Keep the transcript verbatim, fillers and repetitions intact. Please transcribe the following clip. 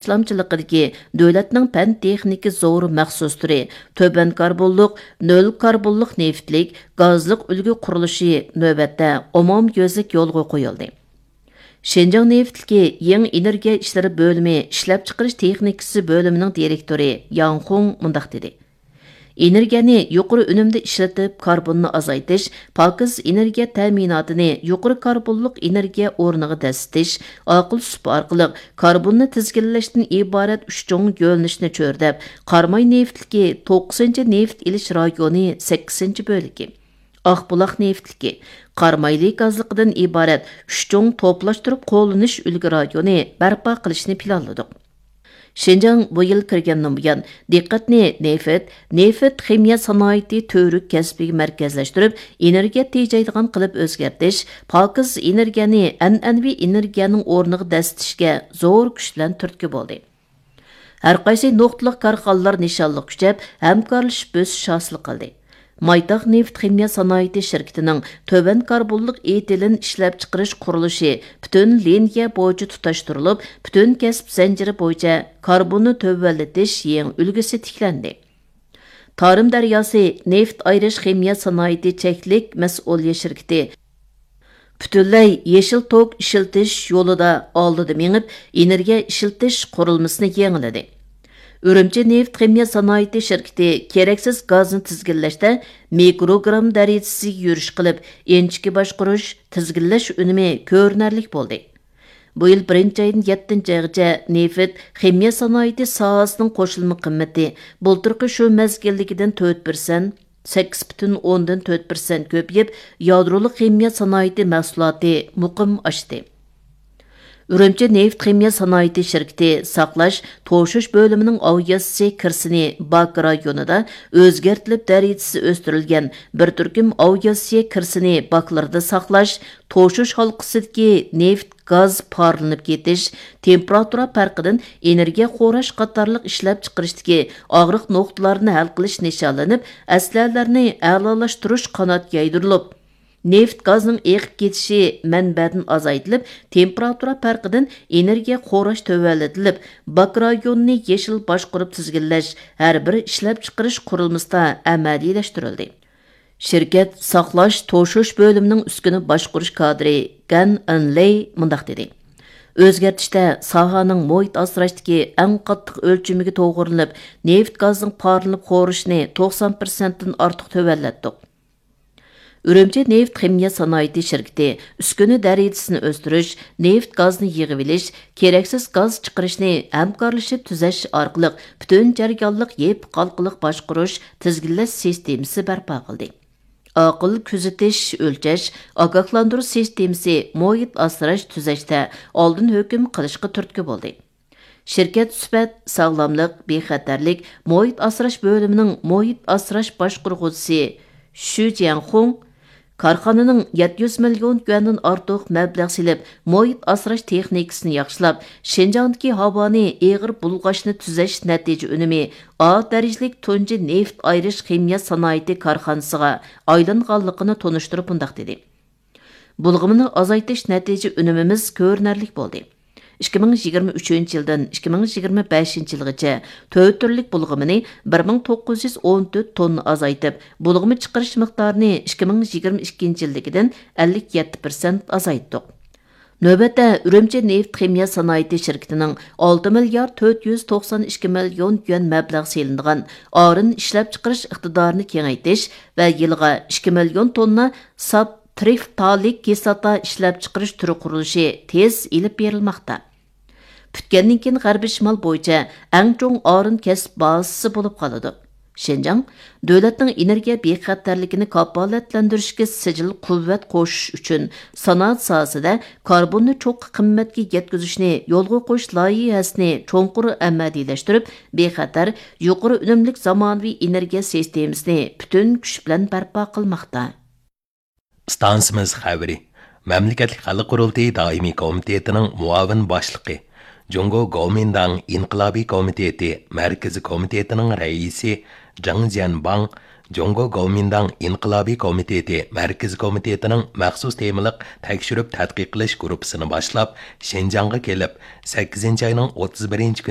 ئىشلامچىلىقىدىكى دۆلەتنىڭ پەن-تېخنىكا زور مەخسۇس تۈرى، تۆۋەن كاربونلۇق، نۆل كاربونلۇق نېفىتلىك، گازلىق ئۈلگە قۇرۇلۇشى نۆۋەتتە ئومۇميۈزلۈك يولغا قويۇلدى. شىنجاڭ نېفىتلىكى يېڭى ئېنېرگىيە ئىشلىرى بۆلۈمى ئىشلەپچىقىرىش تېخنىكىسى بۆلۈمىنىڭ دىرېكتورى ياڭ خۇڭ مۇنداق دېدى: ئېنېرگىيەنى يۇقىرى ئۈنۈمدە ئىشلىتىپ، كاربوننى ئازايتىش، پاكىز ئېنېرگىيە تەمىناتىنى يۇقىرى كاربونلۇق ئېنېرگىيە ئورنىغا دەسسىتىش، ئاقىل سۇپا ئارقىلىق كاربوننى تىزگىنلەشتىن ئىبارەت ئۈچ چوڭ يۆنىلىشنى چۆرىدەپ، قاراماي نېفىتلىكى توققۇزىنچى نېفىت ئېلىش رايونى سەككىزىنچى بۆلىكى، ئاقبۇلاق نېفىتلىكى، قارامايلى گازلىقىدىن ئىبارەت ئۈچ چوڭ توپلاشتۇرۇپ قوللىنىش ئۈلگە رايونى بەرپا قىلىشنى پىلانلىدۇق. شىنجاڭ بۇ يىل كىرگەندىن بۇيان، دىققەتنى نېفىت، نېفىت خىمىيە سانائىتى تۈۋرۈك كەسپىگە مەركەزلەشتۈرۈپ، ئېنېرگىيە تېجەيدىغان قىلىپ ئۆزگەرتىش، پاكىز ئېنېرگىيەنى ئەنئەنىۋى ئېنېرگىيەنىڭ ئورنىغا دەسسىتىشكە زور كۈچ بىلەن تۈرتكە بولدى. ھەرقايسى نۇقتىلىق كارخانىلار نىشانلىق كۈچەپ، ھەمكارلىشىپ ئۆسۈش ھاسىل قىلدى. مايتاغ نېفىت خىمىيە سانائىتى شىركىتىنىڭ تۆۋەن كاربونلۇق ئېتىلېن ئىشلەپچىقىرىش قۇرۇلۇشى پۈتۈن لىنىيە بويىچە تۇتاشتۇرۇلۇپ، پۈتۈن كەسىپ زەنجىرى بويىچە كاربوننى تۆۋەنلىتىش يېڭى ئۈلگىسى تىكلەندى. تارىم دەرياسى نېفىت ئايرىش خىمىيە سانائىتى چەكلىك مەسئۇلىيەت شىركىتى پۈتۈنلەي يېشىل توك ئىشلىتىش يولىدا ئالدىدا مېڭىپ، ئېنېرگىيە ئىشلىتىش قۇرۇلمىسىنى يېڭىلىدى. ئۈرۈمچى نېفىت خىمىيە سانائىتى شىركىتى كېرەكسىز گازنى تىزگىنلەشتە مىكروگرام دەرىجىسىگە يۈرۈش قىلىپ، ئىنچىكە باشقۇرۇش، تىزگىنلەش ئۈنۈمى كۆرۈنەرلىك بولدى. بۇ يىل بىرىنچى ئايدىن يەتتىنچى ئايغىچە نېفىت خىمىيە سانائىتى ساھەسىنىڭ قوشۇلما قىممىتى بۇلتۇرقى شۇ مەزگىلدىكىدىن تۆت پىرسەنت، سەككىز پۈتۈن ئوندىن تۆت پىرسەنت كۆپىيىپ، يادرولۇق خىمىيە سانائىتى مەھسۇلاتى مۇقىم ئاشتى. ئۈرۈمچى نېفىت خىمىيە سانائىتى شىركىتى ساقلاش، توشۇش بۆلۈمىنىڭ ئاۋىئاتسىيە كىرىسىنى باك رايونىدا ئۆزگەرتىلىپ دەرىجىسى ئۆستۈرۈلگەن بىر تۈركۈم ئاۋىئاتسىيە كىرىسىنى باكلىرىدا ساقلاش، توشۇش ھالقىسىدىكى نېفىت، گاز پارلىنىپ كېتىش، تېمپېراتۇرا پەرقىدىن ئېنېرگىيە خوراش قاتارلىق ئىشلەپچىقىرىشتىكى ئاغرىق نۇقتىلارنى ھەل قىلىش نىشانلىنىپ، ئەسلىھەلەرنى ئەلالاشتۇرۇش قانات يايدۇرۇلۇپ، نېفىت گازنىڭ ئېقىپ كېتىشى مەنبەدىن ئازايتىلىپ، تېمپېراتۇرا پەرقىدىن ئېنېرگىيە خوراش تۆۋەنلىتىلىپ، باك رايونىنى يېشىل باشقۇرۇپ تىزگىنلەش ھەر بىر ئىشلەپچىقىرىش قۇرۇلمىسىدا ئەمەلىيلەشتۈرۈلدى. شىركەت ساقلاش، توشۇش بۆلۈمىنىڭ ئۈسكۈنە باشقۇرۇش كادىرى گەن ئېنلېي مۇنداق دېدى: ئۆزگەرتىشتە ساھەنىڭ مۇھىت ئاسراشتىكى ئەڭ قاتتىق ئۆلچىمىگە توغرىلىنىپ، نېفىت گازنىڭ پارلىنىپ خورىشىنى توقسان پىرسەنتتىن ئارتۇق تۆۋەنلەتتۇق. ئۈرۈمچى نېفىت خىمىيە سانائىتى شىركىتى ئۈسكۈنە دەرىجىسىنى ئۆستۈرۈش، نېفىت گازنى يىغىۋېلىش، كېرەكسىز گاز چىقىرىشنى ھەمكارلىشىپ تۈزەش ئارقىلىق پۈتۈن جەريانلىق يېپىق ھالقىلىق باشقۇرۇش، تىزگىنلەش سىستېمىسى بەرپا قىلدى. ئاقىل كۆزىتىش، ئۆلچەش، ئاگاھلاندۇرۇش سىستېمىسى مۇھىت ئاسراش تۈزەشتە ئالدىن ھۆكۈم قىلىشقا تۈرتكە بولدى. شىركەت سۈپەت، ساغلاملىق، بىخەتەرلىك، مۇھىت ئاسراش بۆلۈمىنىڭ مۇھىت ئاسراش باشقۇرغۇچىسى شۈ جياڭخۇڭ كارخانىنىڭ يەتتە يۈز مىليون يۈەندىن ئارتۇق مەبلەغ سېلىپ، مۇھىت ئاسراش تېخنىكىسىنى ياخشىلاپ، شىنجاڭدىكى ھاۋانى ئېغىر بۇلغاشنى تۈزەش نەتىجە ئۈنۈمى ئا دەرىجىلىك تۇنجى نېفىت ئايرىش خىمىيە سانائىتى كارخانىسىغا ئايلانغانلىقىنى تونۇشتۇرۇپ مۇنداق دېدى: بۇلغىمىنى ئازايتىش نەتىجە ئۈنۈمىمىز كۆرۈنەرلىك بولدى. ئىككى مىڭ يىگىرمە ئۈچىنچى يىلدىن ئىككى مىڭ يىگىرمە بەشىنچى يىلغىچە تۆت تۈرلۈك بۇلغىمىنى بىر مىڭ توققۇز يۈز ئون تۆت توننا ئازايتىپ، بۇلغىما چىقىرىش مىقدارىنى ئىككى مىڭ يىگىرمە ئىككىنچى يىلدىكىدىن ئەللىك يەتتە پىرسەنت ئازايتتۇق. نۆۋەتتە ئۈرۈمچى نېفىت خىمىيە سانائىتى شىركىتىنىڭ ئالتە مىليارد تۆت يۈز توقسان ئىككى مىليون يۈەن مەبلەغ سېلىنىدىغان ئارىن ئىشلەپچىقىرىش ئىقتىدارىنى كېڭەيتىش ۋە يىلىغا ئىككى مىليون توننا ساپ ترىفتالىك كىسلاتا ئىشلەپچىقىرىش تۈرى قۇرۇلۇشى تېز ئېلىپ بېرىلماقتا. پۈتكەندىن كېيىن غەربىي شىمال بويىچە ئەڭ چوڭ ئارىن كەسىپ بازىسى بولۇپ قالىدۇ. شىنجاڭ دۆلەتنىڭ ئېنېرگىيە بىخەتەرلىكىنى كاپالەتلەندۈرۈشكە سىجىل قۇۋۋەت قوشۇش ئۈچۈن سانائەت ساھەسىدە كاربوننى چوڭقۇر قىممەتكە يەتكۈزۈشنى يولغا قويۇش لايىھەسىنى چوڭقۇر ئەمەلىيلەشتۈرۈپ، بىخەتەر، يۇقىرى ئۈنۈملۈك زامانىۋى ئېنېرگىيە سىستېمىسىنى پۈتۈن كۈچ بىلەن بەرپا قىلماقتا. ئىستانسىمىز خەۋىرى. مەملىكەتلىك خەلق قۇرۇلتىيى دائىمىي كومىتېتىنىڭ مۇئاۋىن باشلىقى، جۇڭگو گومىنداڭ ئىنقىلابىي كومىتېتى مەركىزىي كومىتېتىنىڭ رەئىسى جاڭ جيەنباڭ جۇڭگو گومىنداڭ ئىنقىلابىي كومىتېتى مەركىزىي كومىتېتىنىڭ مەخسۇس تېمىلىق تەكشۈرۈپ تەتقىق قىلىش گۇرۇپپىسىنى باشلاپ، شىنجاڭغا كېلىپ، سەككىزىنچى ئاينىڭ ئوتتۇز بىرىنچى كۈنى